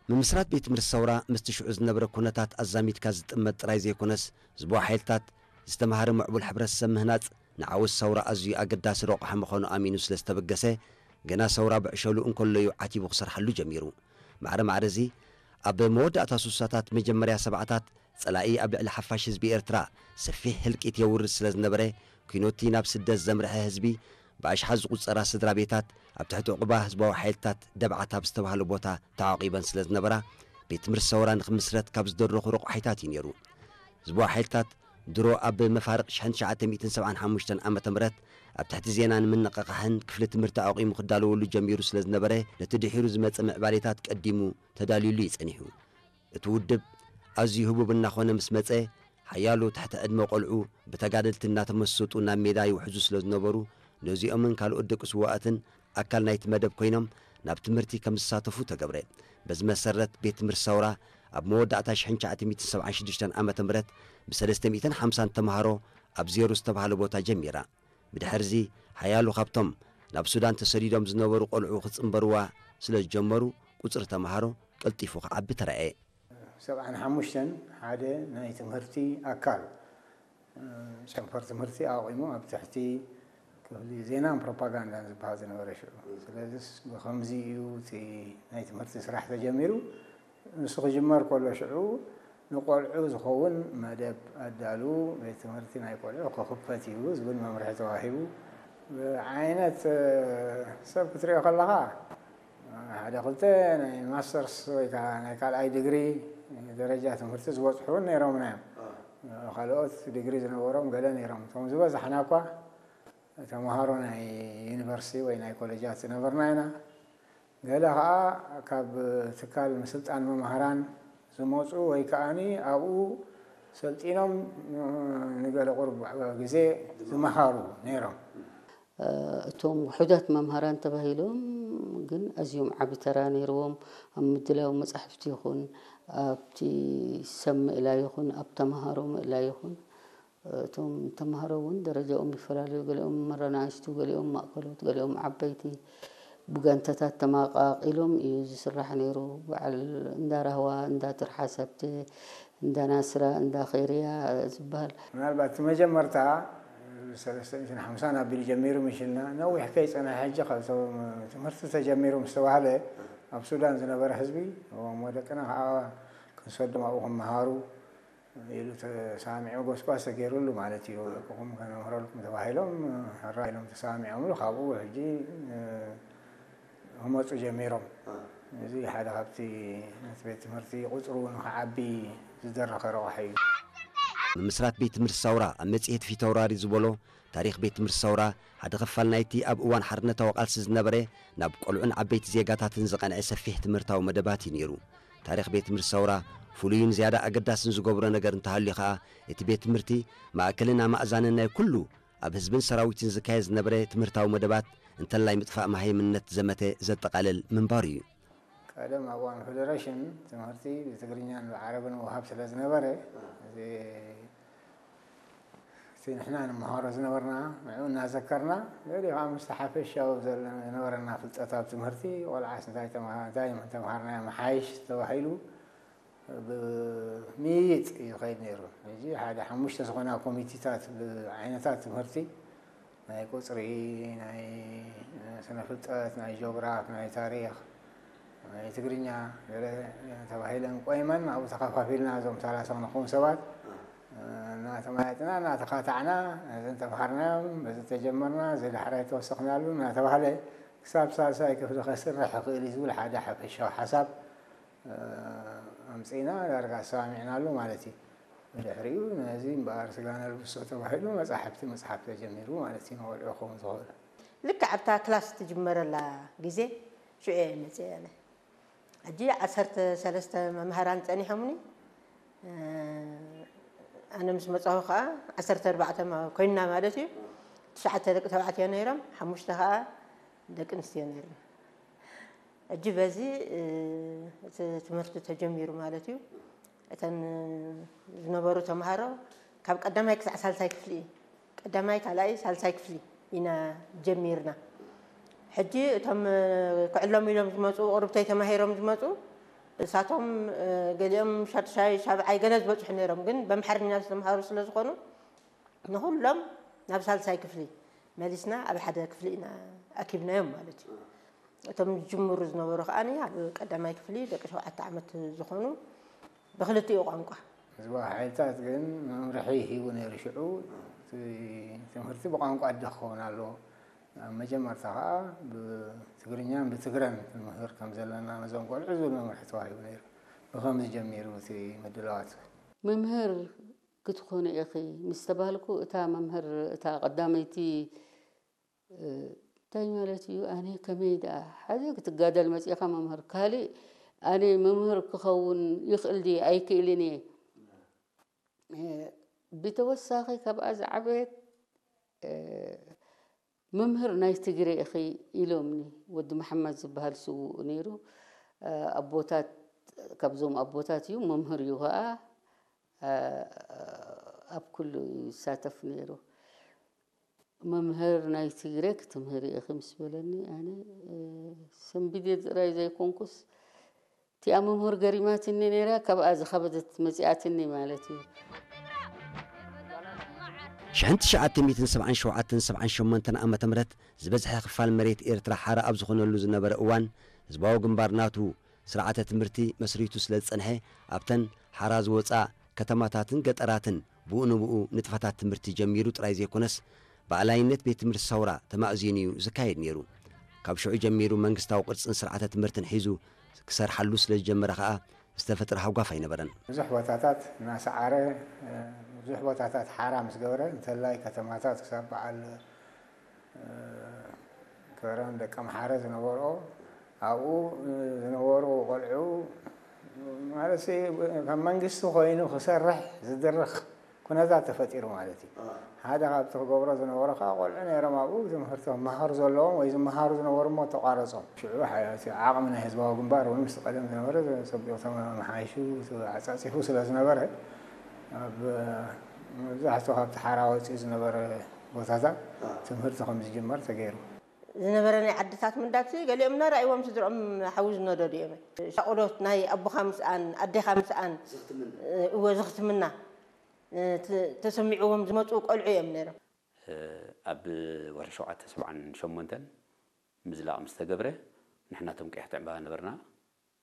ምምስራት ቤት ትምህርቲ ሰውራ ምስቲ ሽዑ ዝነበረ ኩነታት ኣዛሚድካ ዝጥመት ጥራይ ዘይኮነስ፣ ዝቦ ሓይልታት ዝተማሃረ ምዕቡል ሕብረተሰብ ምህናጽ ንዓወት ሰውራ ኣዝዩ ኣገዳሲ ረቑሒ ምዃኑ ኣሚኑ ስለ ዝተበገሰ፣ ገና ሰውራ ብዕሸሉ እንከሎ እዩ ዓቲቡ ክሰርሓሉ ጀሚሩ። ማዕረ ማዕረ እዚ፣ ኣብ መወዳእታ ስሳታት መጀመርያ ሰብዓታት ጸላኢ ኣብ ልዕሊ ሓፋሽ ህዝቢ ኤርትራ ሰፊሕ ህልቂት የውርድ ስለ ዝነበረ፣ ኲኖቲ ናብ ስደት ዘምርሐ ህዝቢ ብኣሽሓት ዝቑጸራ ስድራ ቤታት ኣብ ትሕቲ ዑቕባ ህዝባዊ ሓይልታት ደብዓት ኣብ ዝተባህለ ቦታ ተዓቒበን ስለ ዝነበራ፣ ቤት ትምህርቲ ሰውራ ንኽምስረት ካብ ዝደረኹ ረቑሒታት እዩ ነይሩ። ህዝባዊ ሓይልታት ድሮ ኣብ መፋርቕ ሽሕን ትሽዓተ ሚእትን ሰብዓን ሓሙሽተን ዓመተ ምህረት ኣብ ትሕቲ ዜናን ምንቕቓሕን ክፍሊ ትምህርቲ ኣቑሙ ክዳለወሉ ጀሚሩ ስለ ዝነበረ፣ ነቲ ድሒሩ ዝመጸ ምዕባሌታት ቀዲሙ ተዳልዩሉ እዩ ጸኒሑ። እቲ ውድብ ኣዝዩ ህቡብ እናኾነ ምስ መጸ፣ ሓያሎ ትሕቲ ዕድመ ቆልዑ ብተጋደልቲ እናተመሰጡ ናብ ሜዳ ይውሕዙ ስለ ዝነበሩ፣ ነዚኦምን ካልኦት ደቂ ስውኣትን ኣካል ናይቲ መደብ ኮይኖም ናብ ትምህርቲ ከም ዝሳተፉ ተገብረ። በዚ መሰረት፣ ቤት ትምህርቲ ሰውራ ኣብ መወዳእታ ሽሕን ትሽዓተ ሚእትን ሰብዓን ሽዱሽተን ዓመተ ምህረት ብሰለስተ ሚእትን ሓምሳን ተምሃሮ ኣብ ዜሮ ዝተባህለ ቦታ ጀሚራ። ብድሕርዚ፣ ሓያሎ ካብቶም ናብ ሱዳን ተሰዲዶም ዝነበሩ ቆልዑ ክጽንበርዋ ስለ ዝጀመሩ፣ ቁጽሪ ተምሃሮ ቀልጢፉ ክዓቢ ተራእየ። ሰብዓን ሓሙሽተን ሓደ ናይ ትምህርቲ ኣካል፣ እ፣ ጨንፈር ትምህርቲ ኣቑሙ ኣብ ትሕቲ ክፍሊ ዜናን ፕሮፓጋንዳን ዝበሃል ዝነበረ ሽዑ። ስለዚስ ብኸምዚ እዩ እቲ ናይ ትምህርቲ ስራሕ ተጀሚሩ። ንሱ ክጅመር ከሎ ሽዑ ንቆልዑ ዝኸውን መደብ ኣዳልዉ፣ ቤት ትምህርቲ ናይ ቆልዑ ክኽፈት እዩ ዝብል መምርሒ ተዋሂቡ። ብዓይነት፣ እ፣ ሰብ ክትሪኦ ከለኻ ሓደ ክልተ ናይ ማስተርስ ወይ ከዓ ናይ ካልኣይ ዲግሪ ደረጃ ትምህርቲ ዝበፅሑ እውን ነይሮምና እዮም። ካልኦት ዲግሪ ዝነበሮም ገለ ነይሮም። እቶም ዝበዛሕና እኳ ተምሃሮ ናይ ዩኒቨርሲቲ ወይ ናይ ኮሌጃት ዝነበርና ኢና። ገለ ከዓ ካብ ትካል ምስልጣን መምሃራን ዝመፁ ወይ ከዓኒ ኣብኡ ሰልጢኖም ንገለ ቁሩብ ግዜ ዝመሃሩ ነይሮም። እቶም ውሑዳት መምሃራን ተባሂሎም ግን ኣዝዮም ዓቢ ተራ ነይርዎም። ኣብ ምድላው መጻሕፍቲ ይኹን ኣብቲ ሰብ ምእላይ ይኹን ኣብ ተምሃሮ ምእላይ ይኹን እቶም ተምሃሮ እውን ደረጃኦም ይፈላለዩ። ገሊኦም መረናእሽቱ፣ ገሊኦም ማእከሎት፣ ገሊኦም ዓበይቲ። ብጋንታታት ተመቓቒሎም እዩ ዝስራሕ ነይሩ። በዓል እንዳ ራህዋ፣ እንዳ ትርሓስ ሃብተ፣ እንዳ ናስራ፣ እንዳ ኸይርያ ዝበሃል። ምናልባት እቲ መጀመርታ ሰለስተ ሚእትን ሓምሳን ኣቢሉ ጀሚሩ ምሽልና ነዊሕ ከይጸንሐ ሕጂ ካብቶም ትምህርቲ ተጀሚሩ ምስ ተባህለ ኣብ ሱዳን ዝነበረ ህዝቢ እሞ ደቅና ከዓ ክንሰዶም ኣብኡ ክመሃሩ ኢሉ ተሳሚዑ ጎስጓስ ተገይሩሉ ማለት እዩ። ደቅኹም ከነምህረልኩም ተባሂሎም ሕራ ኢሎም ተሳሚዖምሉ ካብኡ ሕጂ ክመፁ ጀሚሮም። እዚ ሓደ ካብቲ ነቲ ቤት ትምህርቲ ቁፅሩ ንክዓቢ ዝደረኸ ረቑሒ እዩ። ምምስራት ቤት ትምህርቲ ሳውራ ኣብ መጽሔት ፊተውራሪ ዝበሎ ታሪኽ ቤት ትምህርቲ ሳውራ ሓደ ኽፋል ናይቲ ኣብ እዋን ሓርነታዊ ቃልሲ ዝነበረ ናብ ቆልዑን ዓበይቲ ዜጋታትን ዝቐንዐ ሰፊሕ ትምህርታዊ መደባት እዩ ነይሩ። ታሪኽ ቤት ትምህርቲ ሳውራ ፍሉይን ዝያዳ ኣገዳስን ዝገብሮ ነገር እንተሃልዩ ኸኣ እቲ ቤት ትምህርቲ ማእከልን ኣማእዛንን ናይ ኩሉ ኣብ ህዝብን ሰራዊትን ዝካየድ ዝነበረ ትምህርታዊ መደባት እንተላይ ምጥፋእ መሃይምነት ዘመተ ዘጠቓልል ምንባሩ እዩ። ቀደም ኣብ እዋን ፌደሬሽን ትምህርቲ ብትግርኛን ብዓረብን ምውሃብ ስለ ዝነበረ እዚ እቲ ንሕና ንምሃሮ ዝነበርና ንዕኡ እናዘከርና ገሊኡ ከዓ ምስቲ ሓፈሻዊ ዝነበረና ፍልጠት ኣብ ትምህርቲ ቆልዓስ እንታይ ተምሃርናዮ ምሓይሽ ተባሂሉ ብምይይጥ እዩ ዝኸይድ ነይሩ። ሕጂ ሓደ ሓሙሽተ ዝኾና ኮሚቴታት ብዓይነታት ትምህርቲ ናይ ቁፅሪ፣ ናይ ስነ ፍልጠት፣ ናይ ጂኦግራፍ፣ ናይ ታሪኽ፣ ናይ ትግርኛ ገለ ተባሂለን ቆይመን ኣብኡ ተኸፋፊልና እዞም ሰላሳ ንኸውን ሰባት እናተማያጥና እናተኻታዕና ነዚ እንተምሃርናዮም በዚ ተጀመርና እዚ ዳሕራይ ተወሰኽናሉ እናተባህለ ክሳብ ሳልሳይ ክፍሊ ከስርሕ ይኽእል እዩ ዝብል ሓደ ሓፈሻዊ ሓሳብ ኣምፂእና ዳርጋ ተሰማሚዕናሉ ማለት እዩ። ብድሕሪኡ ነዚ እምበኣር ስጋ ነልብሶ ተባሂሉ መፃሕፍቲ ምፅሓፍ ተጀሚሩ ማለት እዩ። ንቆልዑ ክኸውን ዝኽእል ልክዕ ኣብታ ክላስ ትጅመረላ ግዜ ሽዑ እየ መፅእ ኣነ። ሕጂ ዓሰርተ ሰለስተ መምሃራን ፀኒሖምኒ ኣነ ምስ መፃኹ ከዓ ዓሰርተ ኣርባዕተ ኮይንና ማለት እዩ። ትሽዓተ ደቂ ተባዕትዮ ነይሮም፣ ሓሙሽተ ከዓ ደቂ ኣንስትዮ ነይርና። ሕጂ በዚ እቲ ትምህርቲ ተጀሚሩ ማለት እዩ። እተን ዝነበሩ ተምሃሮ ካብ ቀዳማይ ክሳዕ ሳልሳይ ክፍሊ እዩ። ቀዳማይ፣ ካልኣይ፣ ሳልሳይ ክፍሊ ኢና ጀሚርና። ሕጂ እቶም ክዕለሙ ኢሎም ዝመፁ፣ ቁርብተይ ተማሂሮም ዝመፁ እሳቶም ገሊኦም ሻድሻይ ሻብዓይ ገለ ዝበፅሑ ነይሮም፣ ግን በምሓርኛ ዝተምሃሩ ስለ ዝኾኑ ንኹሎም ናብ ሳልሳይ ክፍሊ መሊስና ኣብ ሓደ ክፍሊ ኢና ኣኪብናዮም ማለት እዩ። እቶም ዝጅምሩ ዝነበሩ ከዓኒ ኣብ ቀዳማይ ክፍሊ ደቂ ሸውዓተ ዓመት ዝኾኑ ብክልቲኡ ቋንቋ። ህዝባዊ ሓይልታት ግን መምርሒ ሂቡ ነይሩ። ሽዑ እቲ ትምህርቲ ብቋንቋ ኣደ ክኸውን ኣለዎ። ኣብ መጀመርታ ከዓ ብትግርኛን ብትግረን ክንምህር ከም ዘለና ነዞም ቆልዑ ዝብል መምርሒ ተዋሂቡ ነይሩ። ብኸምዚ ጀሚሩ እቲ ምድላዋት። መምህር ክትኾኒ ኢኺ ምስ ተባህልኩ፣ እታ መምህር፣ እታ ቀዳመይቲ፣ እ፣ እንታይ ማለት እዩ? ኣነ ከመይ ደኣ ሓደ ክትጋደል መጺኻ መምህር፣ ካልእ ኣነ መምህር ክኸውን ይኽእል ድየ ኣይክእልን እየ። እ፣ ብተወሳኺ ካብኣ ዝዓበየት፣ እ፣ መምህር ናይ ትግረ ኢኺ ኢሎምኒ። ወዲ መሓመድ ዝበሃል ስዉእ ነይሩ። እ፣ ኣቦታት፣ ካብዞም ኣቦታት እዩ፣ መምህር እዩ ኸዓ። እ፣ ኣብ ኩሉ ይሳተፍ ነይሩ። መምህር ናይ ትግረ ክትምህሪ ኢኺ ምስ በለኒ፣ ኣነ፣ እ፣ ሰንቢደ ጥራይ ዘይኮንኩስ፣ እቲኣ መምህር ገሪማትኒ ነይራ፣ ካብኣ ዝኸበደት መጺኣትኒ ማለት እዩ። ሽሕን ትሽዓተ ሚእትን ሰብዓን ሸውዓተን ሰብዓን ሸሞንተን ዓመተ ምህረት ዝበዝሐ ክፋል መሬት ኤርትራ ሓራ ኣብ ዝኾነሉ ዝነበረ እዋን፣ ህዝባዊ ግንባር ናቱ ስርዓተ ትምህርቲ መስሪቱ ስለ ዝጸንሐ፣ ኣብተን ሓራ ዝወጻ ከተማታትን ገጠራትን ብኡ ንብኡ ንጥፈታት ትምህርቲ ጀሚሩ ጥራይ ዘይኮነስ፣ ብኣላይነት ቤት ትምህርቲ ሰውራ ተማእዚኑ እዩ ዝካየድ ነይሩ። ካብ ሽዑ ጀሚሩ መንግስታዊ ቅርጽን ስርዓተ ትምህርትን ሒዙ ክሰርሓሉ ስለ ዝጀመረ ከኣ ዝተፈጥረ ሃጓፍ ኣይነበረን። ብዙሕ ቦታታት እናሰዓረ፣ ብዙሕ ቦታታት ሓራ ምስ ገበረ፣ እንተላይ ከተማታት ክሳብ በዓል ከረን ደቂ ኣምሓረ ዝነበርኦ፣ ኣብኡ ዝነበሩ ቆልዑ ማለት፣ ከም መንግስቲ ኮይኑ ክሰርሕ ዝድርኽ ኩነታት ተፈጢሩ ማለት እዩ። ሓደ ካብቲ ክገብሮ ዝነበሮ ከዓ፣ ቆልዑ ነይሮም ኣብኡ ትምህርቲ ክመሃሩ ዘለዎም ወይ ዝመሃሩ ዝነበሩ እሞ ተቋረጾም። ሽዑ ሓ-፣ እቲ ዓቕሚ ናይ ህዝባዊ ግንባር እውን ምስቲ ቀደም ዝነበረ ጸቢቑ ተመሓይሹ፣ ኣጻጺፉ ስለ ዝነበረ፣ ኣብ መብዛሕትኡ ካብቲ ሓራ ወጺኡ ዝነበረ ቦታታት ትምህርቲ ከም ዝጅመር ተገይሩ። ዝነበረ ናይ ዓድታት ምንዳት ገሊኦም እናረኣይዎም ስድርኦም ሓዊ ዝነደዱ እዮም። ሻቕሎት ናይ ኣቦኻ ምስኣን ኣዴኻ ምስኣን፣ እወ፣ ዝኽትምና፣ እ፣ ተ-፣ ተሰሚዕዎም ዝመፁ ቆልዑ እዮም ነይሮም። ኣብ ወርሒ ሸውዓተ ሰብዓን ሸሞንተን ምዝላቕ ምስ ተገብረ፣ ንሕና እቶም ቀያሕቲ ዕምባባ ነበርና።